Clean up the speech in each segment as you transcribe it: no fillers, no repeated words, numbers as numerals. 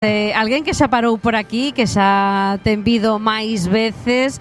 Alguén que xa parou por aquí, que xa ten vido máis veces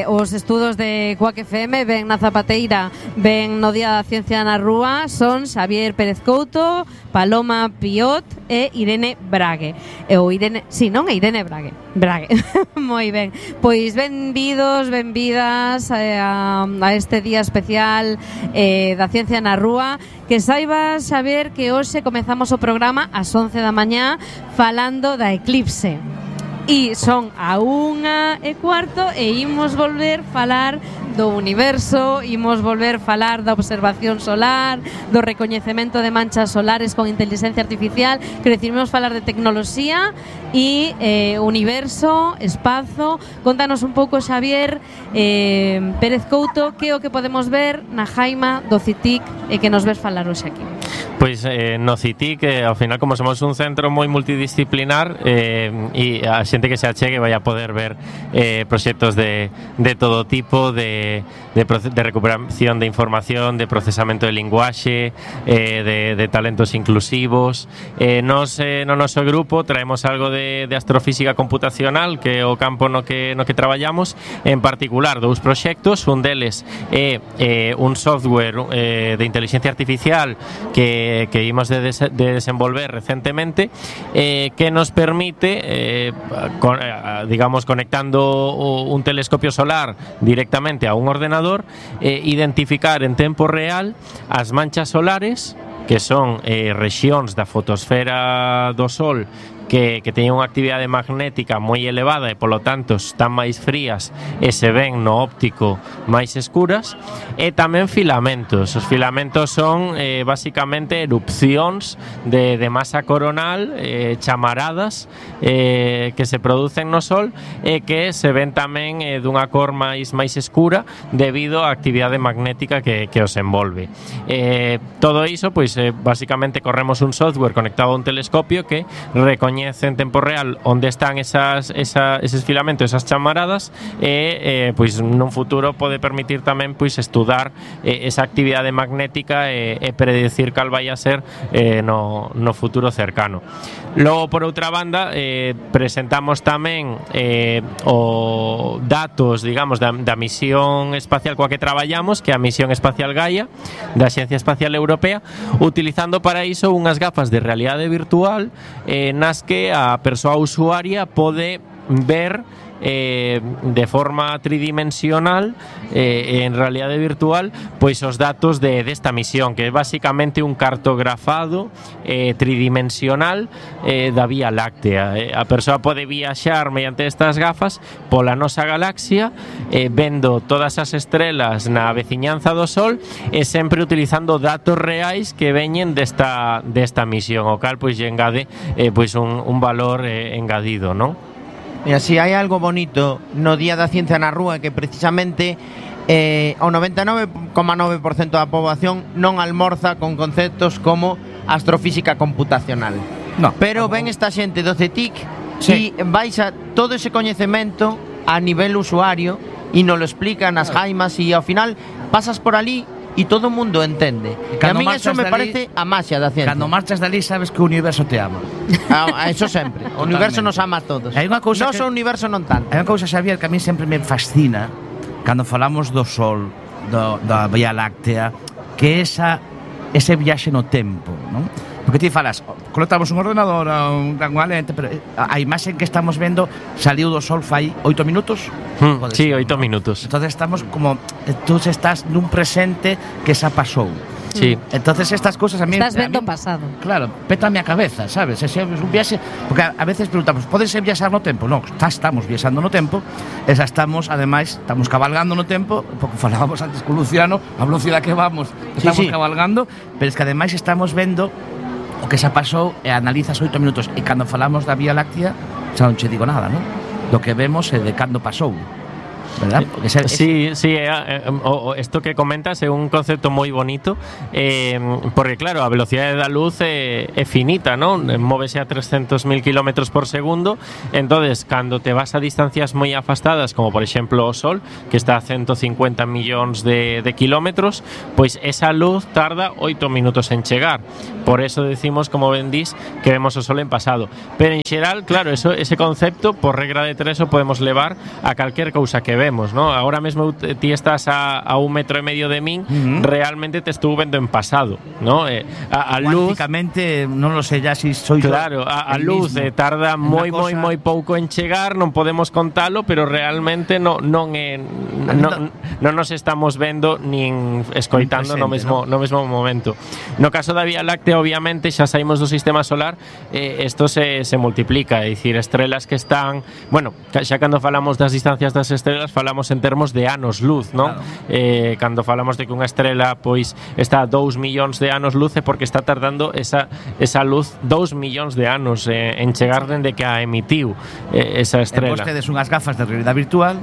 os estudos de Quack FM, ben na Zapateira, ben no Día da Ciencia na Rúa, son Xavier Pérez Couto, Paloma Piot e Irene Brague. Ou Irene, si, non é Irene Brague. Moi ben. Pois benvidos, benvidas a este día especial da Ciencia na Rúa. Que saibas, Xavier, que hoxe comezamos o programa ás 11 da mañá falando da eclipse. E son a 1:15 e imos volver falar do universo, imos volver falar da observación solar, do recoñecemento de manchas solares con inteligencia artificial, que decimos falar de tecnoloxía e universo, espazo. Contanos un pouco, Xavier Pérez Couto, que é o que podemos ver na Jaima do CITIC e que nos ves falar hoxe aquí. Pois no CITIC, ao final, como somos un centro moi multidisciplinar, e a xente que se achegue vai a poder ver proxectos de todo tipo, de recuperación de información, de procesamento de linguaxe, de talentos inclusivos. Nos no noso grupo traemos algo de astrofísica computacional, que é o campo no que traballamos, en particular dous proxectos. Un deles é un software de inteligencia artificial que imos de desenvolver recentemente, que nos permite, digamos, conectando un telescopio solar directamente a un ordenador, identificar en tempo real as manchas solares, que son rexións da fotosfera do Sol que teñen unha actividade magnética moi elevada e, polo tanto, están máis frías e se ven no óptico máis escuras, e tamén filamentos. Os filamentos son, basicamente, erupcións de masa coronal, chamaradas, que se producen no Sol e que se ven tamén dunha cor máis escura debido á actividade magnética que os envolve. Todo iso, pois, basicamente, corremos un software conectado a un telescopio que recoñece en tempo real onde están eses filamentos, esas chamaradas, e pois nun futuro pode permitir tamén pois estudar esa actividade magnética e predecir cal vai a ser no futuro cercano. Logo, por outra banda, presentamos tamén o datos, digamos, da misión espacial coa que traballamos, que é a misión espacial Gaia da Axencia Espacial Europea, utilizando para iso unhas gafas de realidade virtual nas que a persoa usuaria pode ver de forma tridimensional, en realidade virtual, pois os datos desta misión, que é basicamente un cartografado tridimensional da Vía Láctea. A persoa pode viaxar mediante estas gafas pola nosa galaxia, vendo todas as estrelas na veciñanza do Sol e sempre utilizando datos reais que veñen desta misión, o cal pois lle engade pois un valor engadido, non? Mira, si hai algo bonito no Día da Ciencia na Rúa, que precisamente o 99,9% da poboación non almorza con conceptos como astrofísica computacional. No, pero ven esta xente do CETIC, sí, e vais a todo ese coñecemento a nivel usuario e nos lo explican as jaimas, e ao final pasas por ali e todo o mundo entende. E a mí eso me parece a maxia da ciencia. Cando marchas dali sabes que o universo te ama. Eso sempre. O universo nos ama a todos. Hai unha cousa Noso universo non tanto. Hai unha cousa, Xavier, que a mí sempre me fascina cando falamos do Sol, da Vía Láctea, que é ese viaxe no tempo, non? Porque ti falas, conectamos un ordenador a unha lente, pero a imaxe que estamos vendo saliu do Sol fai 8 minutos? Sí, 8 minutos. Entonces estamos como, tú estás nun presente que xa pasou. Sí. Entonces estas cosas a mí... Estás vendo o pasado. Claro, pétame a cabeza, sabes? Ese é un viaxe... Porque a veces preguntamos, podes viaxar no tempo? Non, estamos viaxando no tempo, e xa estamos, ademais, estamos cabalgando no tempo, porque falábamos antes con Luciano, a velocidade que vamos, estamos cabalgando, pero es que ademais estamos vendo o que xa pasou e analizas 8 minutos, e cando falamos da Vía Láctea xa non che digo nada, non? Do que vemos é de cando pasou. ¿verdad? Sí, esto que comentas é un concepto moi bonito, porque claro, a velocidade da luz é finita, non? Móvese a 300.000 km por segundo. Entonces, cando te vas a distancias moi afastadas, como por exemplo o Sol, que está a 150 millóns de kilómetros, pois esa luz tarda 8 minutos en chegar. Por eso decimos, como ben dís, que vemos o Sol en pasado. Pero en xeral, claro, ese concepto, por regra de tres, o podemos levar a calquer cousa que vemos, ¿no? Ahora mesmo ti estás a 1,5 metros de min, realmente te estuvo vendo en pasado, ¿no? A luz, prácticamente non lo sé ya si soy claro, a luz tarda moi pouco en chegar, non podemos contalo, pero realmente non nos estamos vendo nin escoitando no mesmo momento. No caso da Vía Láctea, obviamente, xa saímos do sistema solar, isto se multiplica, é dicir, estrelas que están, bueno, xa cando falamos das distancias das estrelas falamos en termos de anos luz, non? Claro. Cando falamos de que unha estrela pois está a 2 millóns de anos luz é porque está tardando esa luz 2 millóns de anos en chegar dende que a emitiu esa estrela. Vostedes unhas gafas de realidade virtual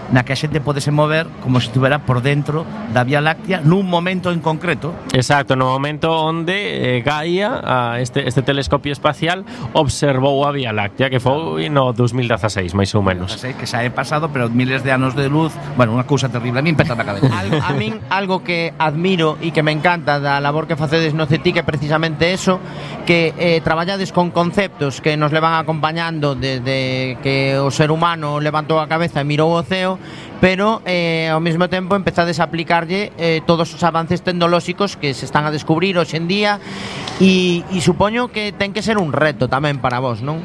na que a xente pode se mover como se estivera por dentro da Vía Láctea nun momento en concreto. Exacto, no momento onde Gaia, este telescopio espacial, observou a Vía Láctea, que foi no 2016, máis ou menos. 2016, que xa é pasado, pero miles de anos de luz, bueno, unha cousa terrible, a mí peta na cabeza. A min, algo que admiro e que me encanta da labor que facedes no CETIC é precisamente eso, que traballades con conceptos que nos levan acompañando desde que o ser humano levantou a cabeza e mirou o ceo, pero ao mesmo tempo empezades a aplicarlle todos os avances tecnolóxicos que se están a descubrir hoxe en día, e supoño que ten que ser un reto tamén para vos, non?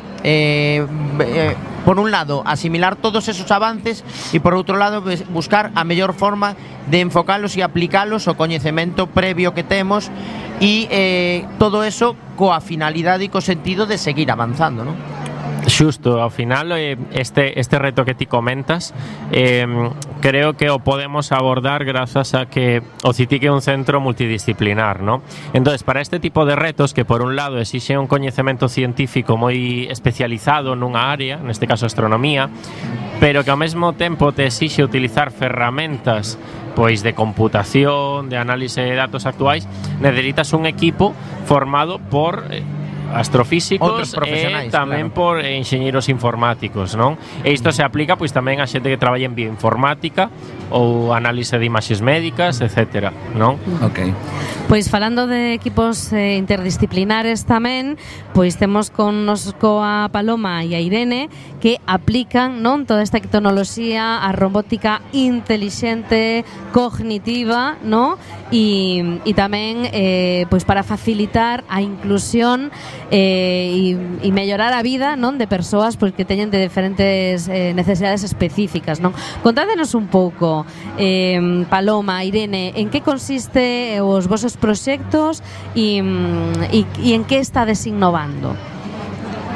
Por un lado, asimilar todos esos avances e por outro lado, buscar a mellor forma de enfocalos e aplicalos ao coñecemento previo que temos, e todo eso coa finalidade e co sentido de seguir avanzando, non? Xusto, ao final este reto que ti comentas, creo que o podemos abordar grazas a que o CITIC é un centro multidisciplinar, ¿no? Entonces, para este tipo de retos, que por un lado exixe un coñecemento científico moi especializado nunha área, neste caso astronomía, pero que ao mesmo tempo te exixe utilizar ferramentas pois de computación, de análise de datos actuais, necesitas un equipo formado por astrofísicos e tamén, claro, por enxeñeiros informáticos, non? E isto se aplica pois tamén a xente que traballa en bioinformática ou análise de imaxes médicas, etcétera, non? Ok. Pois falando de equipos interdisciplinares tamén, pois temos coa Paloma e a Irene que aplican, non, toda esta tecnoloxía, a robótica intelixente, cognitiva, non? E tamén pois para facilitar a inclusión e mellorar a vida, non, de persoas pois que teñen de diferentes necesidades específicas, non? Contádenos un pouco, Paloma, Irene, en que consiste os vosos proxectos e en que estades innovando?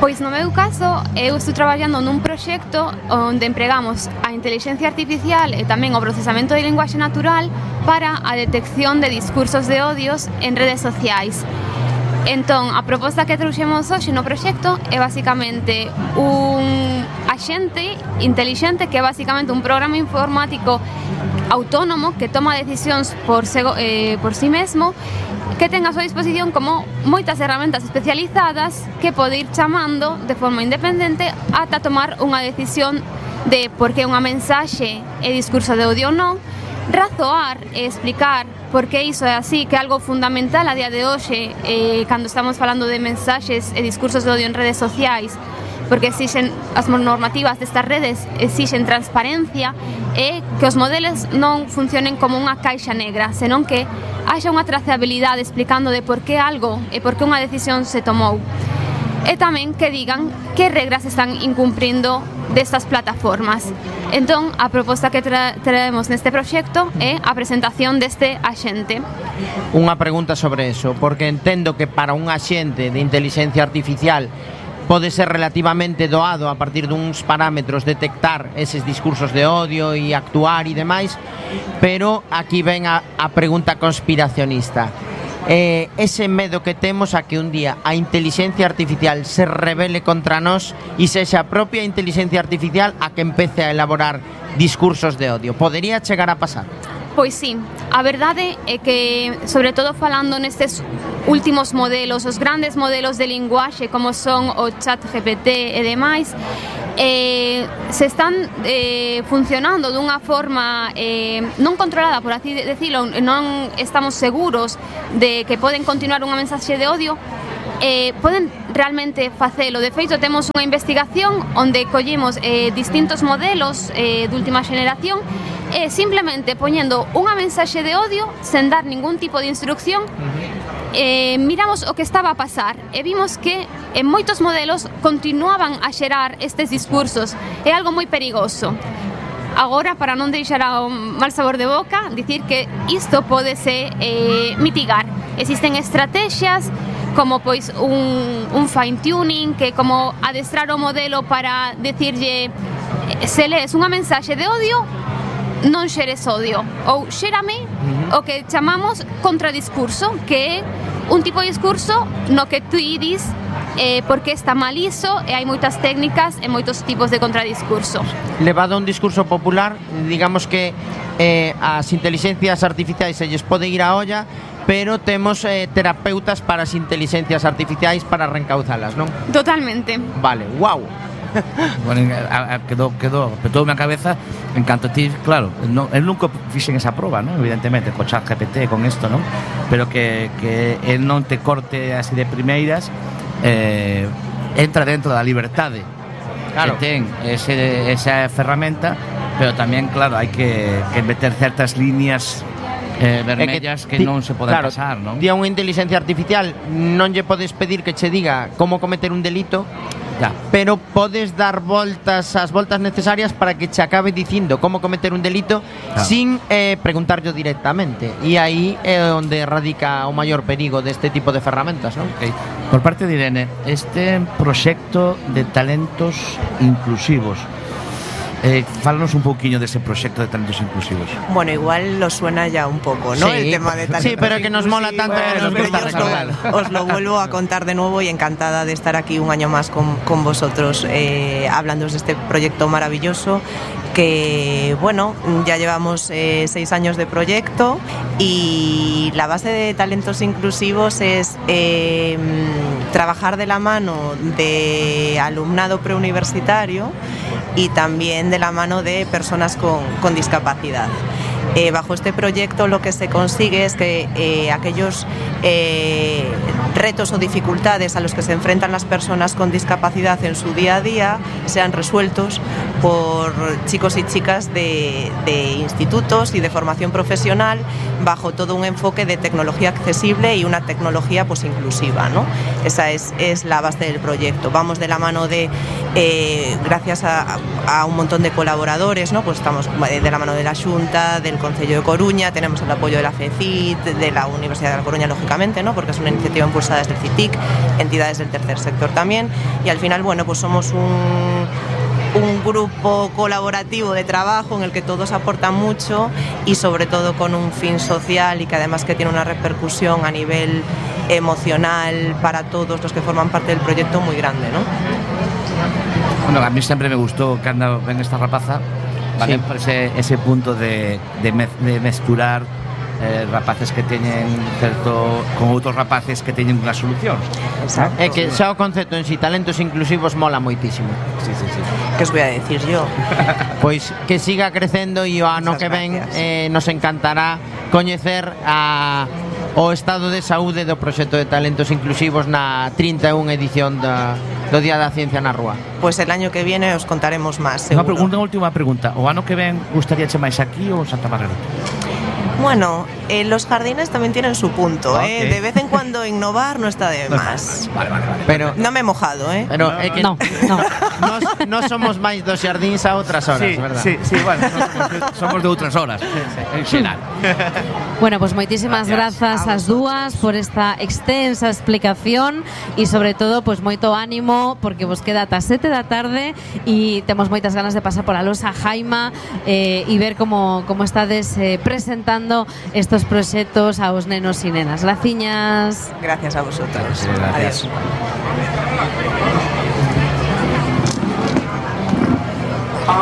Pois no meu caso, eu estou traballando nun proxecto onde empregamos a intelixencia artificial e tamén o procesamento de linguaxe natural para a detección de discursos de odios en redes sociais. Entón, a proposta que trouxemos hoxe no proxecto é basicamente un axente intelixente que é basicamente un programa informático autónomo que toma decisións por si mesmo, que ten a súa disposición como moitas herramentas especializadas que pode ir chamando de forma independente ata tomar unha decisión de por que unha mensaxe é discurso de odio ou non, razoar e explicar por que iso é así, que é algo fundamental a día de hoxe cando estamos falando de mensaxes e discursos de odio en redes sociais, porque exixen as normativas destas redes, exixen transparencia e que os modelos non funcionen como unha caixa negra, senón que haxa unha trazabilidade explicando de por que algo e por que unha decisión se tomou. E tamén que digan que regras están incumprindo destas plataformas. Entón, a proposta que traemos neste proxecto é a presentación deste axente. Unha pregunta sobre eso, porque entendo que para un axente de inteligencia artificial pode ser relativamente doado a partir duns parámetros detectar eses discursos de odio e actuar e demais, pero aquí ven a pregunta conspiracionista. ese medo que temos a que un día a inteligencia artificial se rebele contra nós e sexa a propia inteligencia artificial a que empece a elaborar discursos de odio. Podería chegar a pasar? Pois sí, a verdade é que, sobre todo falando nestes últimos modelos, os grandes modelos de linguaxe como son o ChatGPT e demais, se están funcionando dunha forma non controlada, por así decirlo, non estamos seguros de que poden continuar unha mensaxe de odio. Poden realmente facelo. De feito, temos unha investigación onde collimos distintos modelos de última xeneración e simplemente poñendo unha mensaxe de odio sen dar ningún tipo de instrucción, miramos o que estaba a pasar e vimos que en moitos modelos continuaban a xerar estes discursos. É algo moi perigoso. Agora, para non deixar un mal sabor de boca, dicir que isto pódese mitigar. Existen estrategias como pois un fine-tuning, que como adestrar o modelo para decirlle se lees unha mensaxe de odio, non xeres odio, ou xérame o que chamamos contradiscurso, que é un tipo de discurso no que tú dis porque está mal iso, e hai moitas técnicas e moitos tipos de contradiscurso. Levado a un discurso popular, digamos que as inteligencias artificiais se lles pode ir a olla, pero temos terapeutas para as inteligencias artificiais para reencauzalas, non? Totalmente. Vale, wow. Bueno, petoume a cabeza en canto ti, claro, el nunca fixen esa proba, ¿no? Evidentemente, co ChatGPT, con esto, ¿no? Pero que el non te corte así de primeiras, entra dentro da liberdade, claro, que ten esa ferramenta, pero tamén, claro, hai que meter certas líneas vermellas que non se poden pasar, non? Di a unha inteligencia artificial non lle podes pedir que che diga como cometer un delito, ya, pero podes dar as voltas necesarias para que che acabe dicindo como cometer un delito, claro, sin preguntarlo directamente. E aí é onde radica o maior perigo deste tipo de ferramentas, non? Okay. Por parte de Irene, este proxecto de talentos inclusivos, fálanos un pouquiño dese proxecto de talentos inclusivos. Bueno, igual lo suena ya un poco, ¿no? Sí, el tema de talentos. Sí, pero que nos mola tanto, que nos gusta recordar. Os lo vuelvo a contar de nuevo y encantada de estar aquí un año más con vosotros hablando de este proyecto maravilloso que, bueno, ya llevamos 6 años de proyecto y la base de talentos inclusivos es trabajar de la mano de alumnado preuniversitario y también de la mano de personas con discapacidad. Bajo este proyecto lo que se consigue es que aquellos retos o dificultades a los que se enfrentan las personas con discapacidad en su día a día sean resueltos por chicos y chicas de institutos y de formación profesional bajo todo un enfoque de tecnología accesible y una tecnología pues inclusiva, ¿no? Esa es la base del proyecto. Vamos de la mano de, gracias a un montón de colaboradores, ¿no? Pues estamos de la mano de la Xunta, del Concello de Coruña, tenemos el apoyo de la FECIT, de la Universidad de La Coruña, lógicamente, ¿no? Porque es una iniciativa impulsada desde el CITIC, entidades del tercer sector también, y al final, bueno, pues somos un grupo colaborativo de trabajo en el que todos aportan mucho y sobre todo con un fin social y que además que tiene una repercusión a nivel emocional para todos los que forman parte del proyecto muy grande, ¿no? Bueno, a mí siempre me gustó que ven esta rapaza, ¿vale? Sí. Por ese punto de mesturar rapaces que teñen certo con outros rapaces que teñen unha solución. Exacto. É que xa o concepto en si talentos inclusivos mola moitísimo. Sí. ¿Qué os voy a decir yo? Pois que siga crecendo e o ano que ven nos encantará coñecer o estado de saúde do proxecto de talentos inclusivos na 31 edición do Día da Ciencia na Rúa. Pues el año que viene os contaremos más, seguro. Unha última pregunta. O ano que ven gustaríache máis aquí ou en Santa Margarita? Bueno, los jardines también tienen su punto, Okay. De vez en cuando innovar no está de más. Vale. Pero no me he mojado, Pero é que No. Nos somos máis dos xardíns a outras horas, verdad? Sí, bueno, somos de outras horas, en xeral. Bueno, pues moitísimas grazas ás dúas por esta extensa explicación e sobre todo pues moito ánimo porque vos queda ata 7 da tarde e temos moitas ganas de pasar por a Losa Jaima e ver como estades presentando apoiando estos proxectos aos nenos e nenas. Graciñas. Gracias a vosotros. Gracias. Adiós.